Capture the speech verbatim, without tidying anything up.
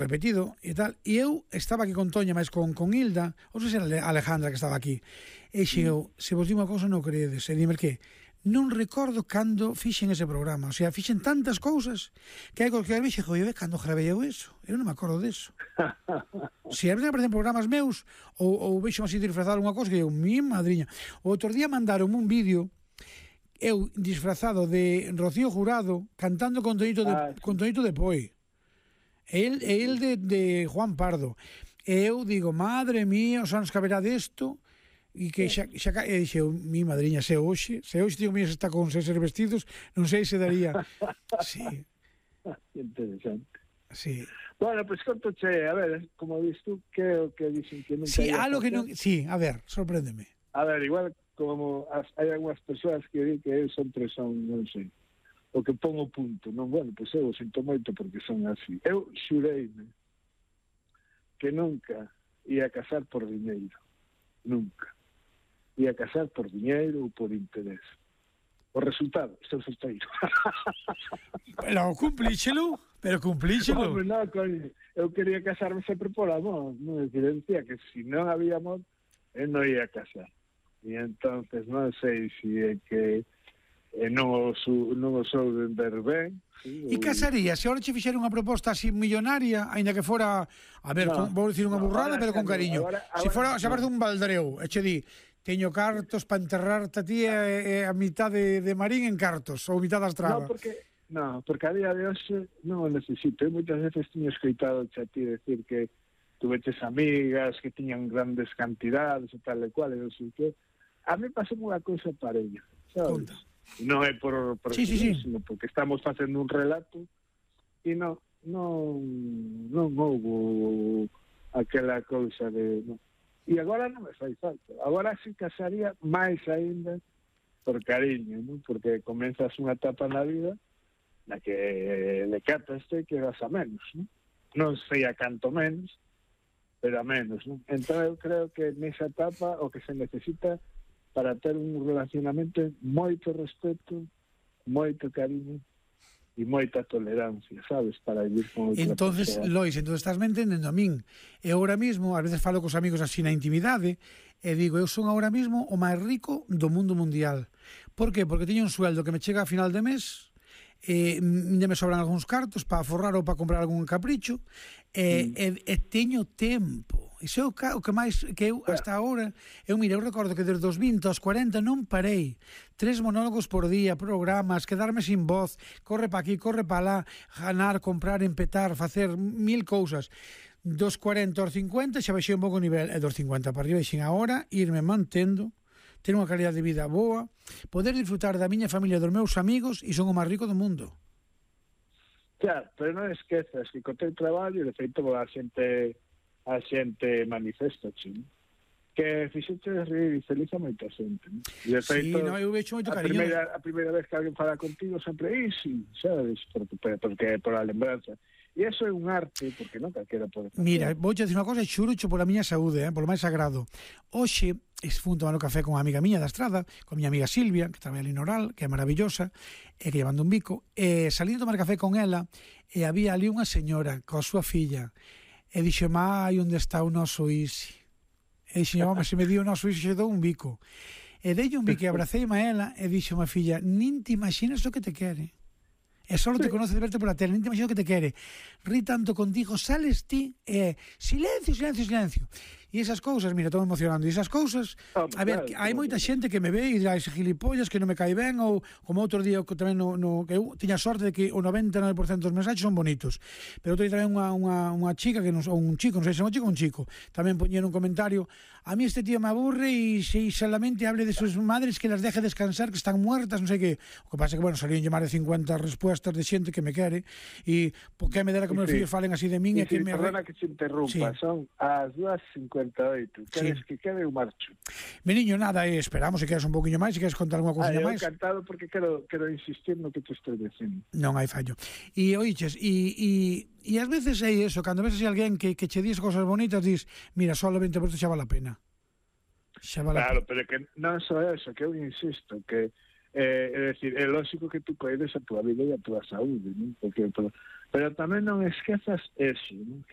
repetido e tal, e eu estaba aquí con Toña, máis con, con Hilda, ou sei se era Alejandra que estaba aquí, e xeo, mm. se vos digo unha cousa non creedes, e dime que non recordo cando fixen ese programa, o sea, fixen tantas cousas que hai que vexe, joder, cando gravei eu eso, eu non me acordo deso. Se a veces aparecen programas meus ou, ou vexo así disfrazado unha cousa que eu, mi madriña, o outro día mandaron un vídeo eu disfrazado de Rocío Jurado cantando con Tonito de, ah, sí. con Tonito de Poi. El, el de, de Juan Pardo. E eu digo, madre mía, os anos que haberá desto, e que xa, xa e dixeu, mi madriña, se hoxe, se hoxe digo, mira, se está con seis vestidos, non sei se daría. Sí. Interesante. Sí. Bueno, pois pues, contoche, a ver, como vis tú, que o que dicen que non sí, algo que non, sí, a ver, sorpréndeme. A ver, igual como as, hai algunhas persoas que di que eu sempre son, non sei, o que pon o punto, non, bueno, pois eu sinto moito porque son así. Eu xureime que nunca ia casar por diñeiro, nunca. Ia casar por diñeiro ou por interés. O resultado, estou solteiro. Pero cumplíxelo, pero cumplíxelo. No, no, coño, eu quería casarme sempre por amor, non? É dicir, decía que se non había amor, eu non ia casar. E entonces non sei se é que e non o, su, non o sou de ver ben. Sí, e casaría, se ahora che fixera unha proposta así millonaria, aínda que fora, a ver, no, con, vou dicir unha no, burrada, pero con cariño. Ahora, ahora, se fora, se aparece no. un baldreu, e che di, teño cartos para enterrarte a ti e, e a mitad de, de Marín en cartos, ou mitad da estrada. No, porque, no, porque a día de hoxe non o necesito. Eu moitas veces tiño escoitado a ti decir que tuveches amigas que tiñan grandes cantidades e tal e cual, e non sei que. A mí pasou unha cousa parella, sabes? Conta. Non é por, por sí, sí, sí. sino porque estamos facendo un relato e non non non houve aquela cousa de no. E agora non me fai falta, agora sí casaría máis aínda por cariño, non? Porque comenzas unha etapa na vida na que le cataste que vas a menos, non? Non sei a canto menos, pero a menos, non? Entón eu creo que nesa etapa o que se necesita para ter un relacionamento moito respeto, moito cariño e moita tolerancia, sabes, para vivir con outra entonces, persona. Lois, entonces estás me entendendo a min. E agora mismo, a veces falo cos amigos así na intimidade, e digo, eu son agora mismo o máis rico do mundo mundial. Por qué? Porque teño un sueldo que me chega a final de mes, e ainda me sobran algúns cartos para forrar ou para comprar algún capricho, e, mm. e, e teño tempo. Iso é o que, o que máis que eu hasta agora, eu mira, eu recordo que desde os vinte aos cuarenta non parei. Tres monólogos por día, programas, quedarme sin voz, corre pa aquí, corre pa lá, ganar, comprar, empetar, facer mil cousas. Dos cuarenta aos cincuenta xa baixei un pouco o nivel, e dos cincuenta para arriba, e xin agora irme mantendo, ter unha calidad de vida boa, poder disfrutar da miña familia, dos meus amigos, e son o máis rico do mundo. Claro, pero non esquezas que co teu traballo, de feito, a xente a xente manifesta, xin, que fixete rir e feliz a moita xente. ¿No? E de feito, sí, no, eu vexo moito a cariño. Primeira, a primeira vez que alguén fala contigo sempre, e sí, sabes, porque, porque por a lembranza. E iso é un arte, porque non calquera pode facer. Mira, vou te dicir unha cosa, xurucho pola miña saúde, eh, polo máis sagrado. Hoxe, fui tomar o café con unha amiga miña da estrada, con miña amiga Silvia, que traballa ali no Oral, que é maravillosa, e que llevando un bico, e salí a tomar café con ela, e había ali unha señora coa súa filla, e dixo, mai, onde está o noso Isi? E dixo, home, se me dio o noso Isi, xe dou un bico. E dei un bico e abracei-me a ela, e dixo, má filla, nin te imaginas o que te quere. E só te conoce de verte por la tele, nin te imaginas o que te quere. Ri tanto contigo, sales ti, e silencio, silencio, silencio. E esas cousas, mira, estou emocionando, e esas cousas, oh, a ver, claro, hai moita xente que me ve e dirá, ese gilipollas que non me cae ben, ou como outro día que tamén no, no, que eu tiña sorte de que o noventa e nove por cento dos mensaxes son bonitos, pero outro día tamén unha, unha, unha chica, que non, ou un chico, non sei se é un chico ou un chico, tamén poñeron un comentario, a mí este tío me aburre e se solamente hable de sus madres que las deje descansar, que están muertas, non sei que, o que pasa que, bueno, salían máis de cincuenta respuestas de xente que me quere, e por que me dera que meus fillos falen así de min, e que me... Perdona que se interrumpa, sí. Son as dúas cincuenta e oito, queres sí. que quede o marcho. Meniño, nada, eh, esperamos se queres un poquinho máis, se queres contar algunha cousinha máis. Eu encantado porque quero, quero insistir no que te estou dicindo. Non hai fallo. E, oiches, e, e, e ás veces é iso, cando ves así alguén que, que che dis cosas bonitas, dis, mira, só o vinte por cento xa vale a pena. Xa vale claro, a pena. pero que non só eso, que eu insisto, que Eh, é decir, é lógico que tú coides a túa vida e a túa saúde, non? Porque por, Pero tamén non esquezas eso, non? Que